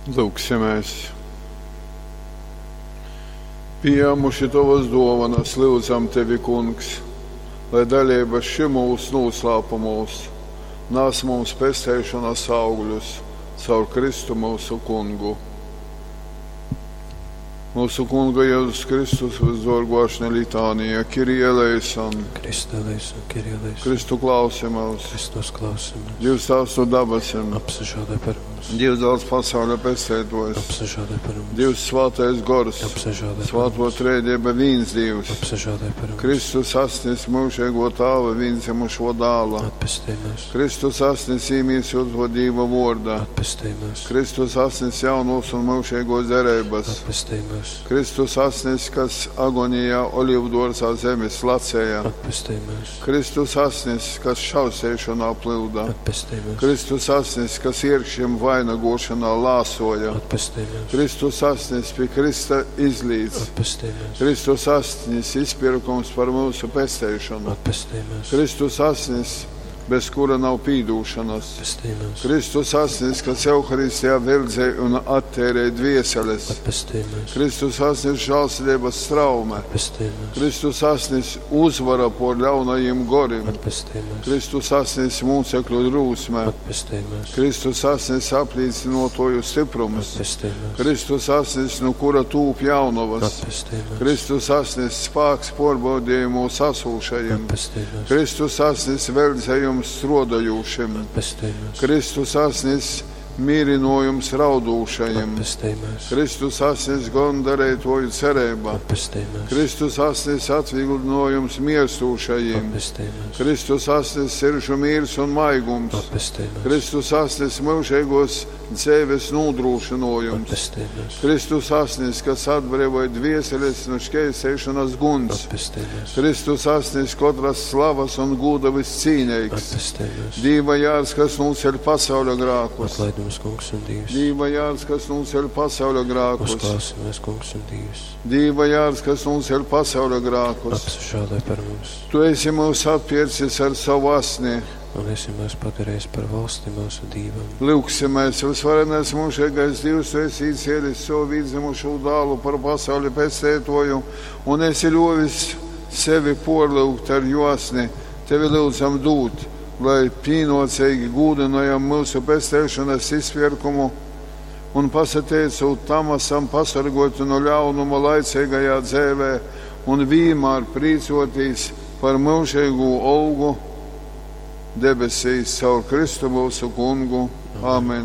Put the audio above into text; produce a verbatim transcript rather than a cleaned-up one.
Lūgsimies. Pījāmuši tovas dōvanas, lyudzam tevi, Kungs, lai daleiba šymūs nūslāpumūs nas mums pesteišonas augļus caur Kristu myusu Kungu. Mūsu Kunga Jēzus Kristus visdōrgō ašņa litānija, Kyrie eleison, Christe eleison, Kyrie eleison. Kristu klausi mūs, Kristus klausi mūs. Dievs Tēvs no dabasim, Apsažālē par mums. Dievs dāls pasaules pestētojs, Apsažālē par mums. Dievs svētais gors, Apsažālē par svēto mums. trēdieba vīns Dievs, Apsažālē par mums. Kristus asnis mūžīgo tāva vīnzemušo dāla, Atpestī mūs. Kristus asnis īmīsoto Dīva vorda, Atpestī mūs. Kristus asnis jaunos un mūžīgos derības, Atpestī mūs. Kristus asnis, kas agonijā olīvdārzā zemes lacēja, Atpestī mūs. Kristus asnis, kas šausēšanā plilda, Atpestī mūs. Kristus asnis, kas iekšiem vainagošanā lāsoja, Atpestī mūs. Kristus asnis pie Krista izlīdz, Atpestī mūs. Kristus asnis izpirkums par mūsu pesteišanu, Atpestī mūs. Kristus asnis, bez kura nav pīdūšanas. Atpestī mūs. Kristus asnis, kas Euharistijā verdzē un attērē dvieseles. Atpestī mūs. Kristus asnis žēlsirdības straume. Atpestī mūs. Kristus asnis uzvara por ļaunajiem gorim. Atpestī mūs. Kristus asnis mūcekļu drūsme. Atpestī mūs. Kristus asnis aplīcinotoju stiprums. Atpestī mūs. Kristus asnis, no kura tūp jaunavas. Atpestī mūs. Kristus asnis spāks porbaudījumos asūšajiem. Atpestī mūs. Kristus asnis verdzējums strodojušiem. Atpestī mūs. Kristus asnis mīrinojums raudūšajiem. Atpestī mūs. Kristus asnis gondarētoju cerība. Atpestī mūs. Kristus asnis atvieglinojums mirstūšajiem. Atpestī mūs. Kristus asnis siržu mīrs un maigums. Atpestī mūs. Kristus asnis mūžīgos dzīves nodrošinojums. Atpestī mūs. Kristus asnis, kas atbrīvoja dvieseles no šķērsēšanas guns. Atpestī mūs. Kristus asnis katras slavas un gūda viscīnīgs. Atpestī mūs. Dīva jārs, kas nūceļ pasauļa grākus. Atlaid mums, kungs un Dievs. Dīva jārs, kas nūceļ pasauļa grākus. Uzklausi mūs, kungs un Dievs. Dīva jārs, kas nūceļ pasauļa grākus. Apsažālē par mums. Tu esi mūs atpircis ar savu asni. Un esi mūs padarījis par valsti mūsu Dievam. Lūgsimies, visvarenais mūžīgais Dievs, tu esi īcēlis savu vīdzimušo dālu par pasauli pestētoju un esi ļovis sevi porlūgt ar josni. Tevi lūdzam dūt, lai pīnocīgi gūdinojam mūsu pestēšanas izpirkumu un pasateicot tam esam pasargoti no ļaunuma laicīgajā dzēvē un vienmēr prīcotīs par mūžīgo olgu debesīs caur Kristu mūsu kungu. Āmen.